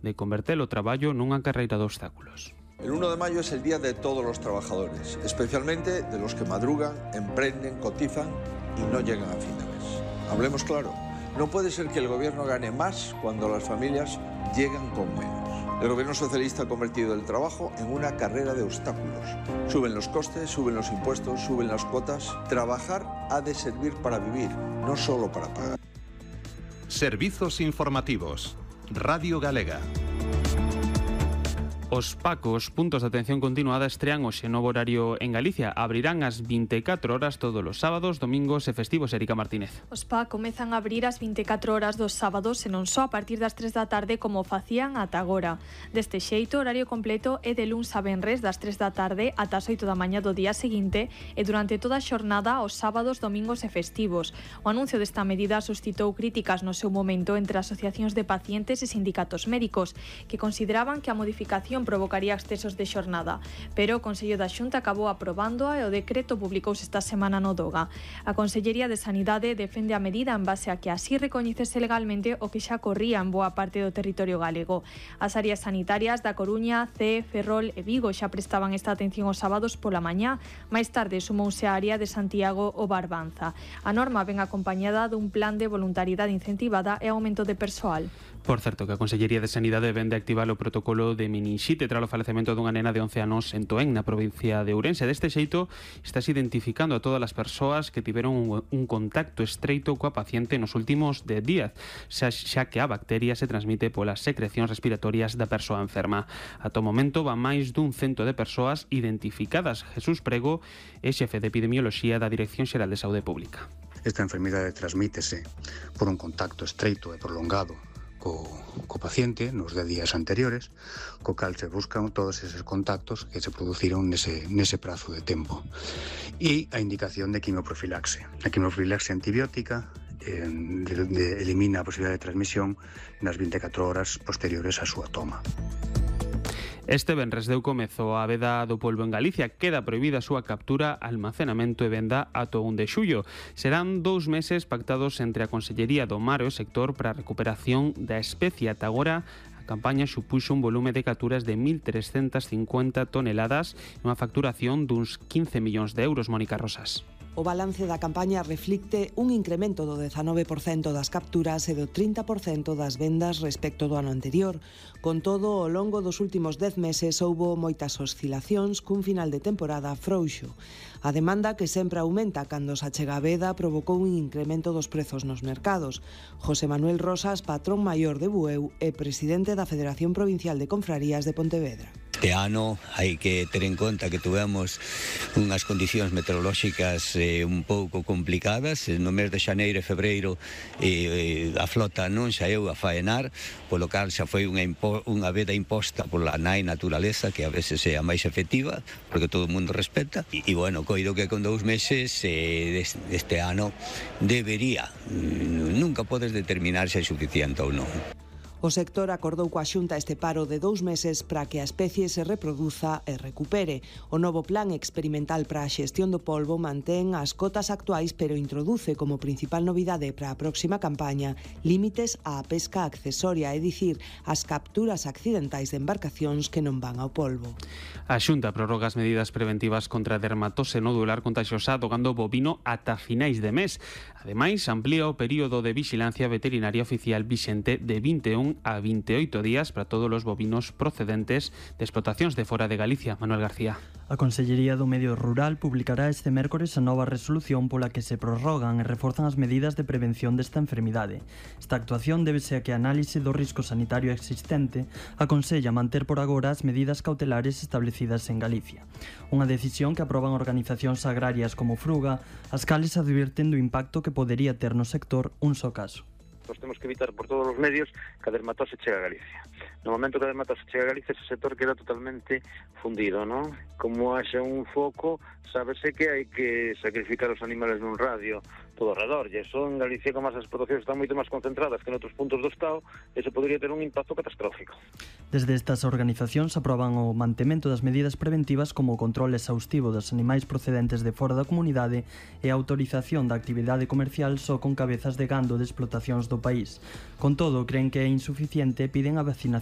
de converter o traballo nunha carreira de obstáculos. El 1 de mayo es el día de todos los trabajadores, especialmente de los que madrugan, emprenden, cotizan y no llegan a fin de mes. Hablemos claro, no puede ser que el gobierno gane más cuando las familias llegan con menos. El gobierno socialista ha convertido el trabajo en una carrera de obstáculos. Suben los costes, suben los impuestos, suben las cuotas. Trabajar ha de servir para vivir, no solo para pagar. Servizos informativos. Radio Galega. Os PACos, puntos de atención continuada, estrean hoxe novo horario en Galicia. Abrirán ás 24 horas todos os sábados, domingos e festivos. Erika Martínez. Os PAC comezan a abrir ás 24 horas dos sábados e non só a partir das 3 da tarde como facían ata agora. Deste xeito, o horario completo é de luns a venres das 3 da tarde ata as 8 da mañá do día seguinte e durante toda a xornada os sábados, domingos e festivos. O anuncio desta medida suscitou críticas no seu momento entre asociacións de pacientes e sindicatos médicos que consideraban que a modificación provocaría excesos de xornada, pero o Consello da Xunta acabou aprobándoa e o decreto publicouse esta semana no DOGA. A Consellería de Sanidade defende a medida en base a que así recoñecese legalmente o que xa corría en boa parte do territorio galego. As áreas sanitarias da Coruña, Cee, Ferrol e Vigo xa prestaban esta atención os sábados pola mañá. Máis tarde sumouse a área de Santiago ou Barbanza. A norma ven acompañada dun plan de voluntariedade incentivada e aumento de persoal. Por certo, que a Consellería de Sanidade vende activar o protocolo de meninxite tras o falecemento dunha nena de 11 anos en Toén, na provincia de Ourense. Deste xeito, estás identificando a todas as persoas que tiveron un contacto estreito coa paciente nos últimos 10 días, xa que a bacteria se transmite polas secrecións respiratorias da persoa enferma. Ata o momento, van máis dun cento de persoas identificadas. Jesús Prego é xefe de epidemioloxía da Dirección Xeral de Saúde Pública. Esta enfermidade transmítese por un contacto estreito e prolongado co paciente nos 10 días anteriores, co cal se buscan todos eses contactos que se produciron nese prazo de tempo. E a indicación de quimioprofilaxe. A quimioprofilaxe antibiótica elimina a posibilidade de transmisión nas 24 horas posteriores á súa toma. Este venres deu comezo a veda do polbo en Galicia. Queda prohibida a súa captura, almacenamento e venda ata o 1 de xullo. Serán 2 meses pactados entre a Consellería do Mar e o sector para a recuperación da especie. Ata agora, a campaña supuxo un volume de capturas de 1.350 toneladas e unha facturación duns 15 millóns de euros, Mónica Rosas. O balance da campaña reflicte un incremento do 19% das capturas e do 30% das vendas respecto do ano anterior. Con todo, ao longo dos últimos 10 meses houbo moitas oscilacións cun final de temporada frouxo. A demanda, que sempre aumenta cando se achega a veda, provocou un incremento dos prezos nos mercados. José Manuel Rosas, patrón maior de Bueu e presidente da Federación Provincial de Confrarías de Pontevedra. Este ano hai que ter en conta que tuvemos unhas condicións meteorolóxicas un pouco complicadas. No mes de xaneiro e febreiro a flota non saeu a faenar, polo cal xa foi unha veda imposta pola nai naturaleza, que a veces é a máis efectiva, porque todo o mundo respeta. E bueno, coido que con 2 meses deste ano debería, nunca podes determinar se é suficiente ou non. O sector acordou coa Xunta este paro de 2 meses para que a especie se reproduza e recupere. O novo plan experimental para a xestión do polbo mantén as cotas actuais, pero introduce como principal novidade para a próxima campaña límites á pesca accesoria, é dicir, as capturas accidentais de embarcacións que non van ao polbo. A Xunta prorroga as medidas preventivas contra a dermatose nodular contagiosa do gando bovino ata finais de mes. Ademais, amplía o período de vixilancia veterinaria oficial vixente de 21 a 28 días para todos os bovinos procedentes de explotacións de fora de Galicia. Manuel García. A Consellería do Medio Rural publicará este mércores a nova resolución pola que se prorrogan e reforzan as medidas de prevención desta enfermidade. Esta actuación débese a que a análise do risco sanitario existente aconsella manter por agora as medidas cautelares establecidas en Galicia. Unha decisión que aproban organizacións agrarias como Fruga, as cales advirten do impacto que podería ter no sector un só caso. Nós temos que evitar por todos os medios que a dermatose chegue a Galicia. No momento que a dermatose chega a Galicia, ese sector queda totalmente fundido, non? Como haxa un foco, sábese que hai que sacrificar os animales nun radio todo alrededor, e eso en Galicia, como as explotacións están moito máis concentradas que en outros puntos do Estado, eso podría ter un impacto catastrófico. Desde estas organizacións aproban o mantemento das medidas preventivas como o control exhaustivo dos animais procedentes de fora da comunidade e a autorización da actividade comercial só con cabezas de gando de explotacións do país. Con todo, creen que é insuficiente e piden a vacinación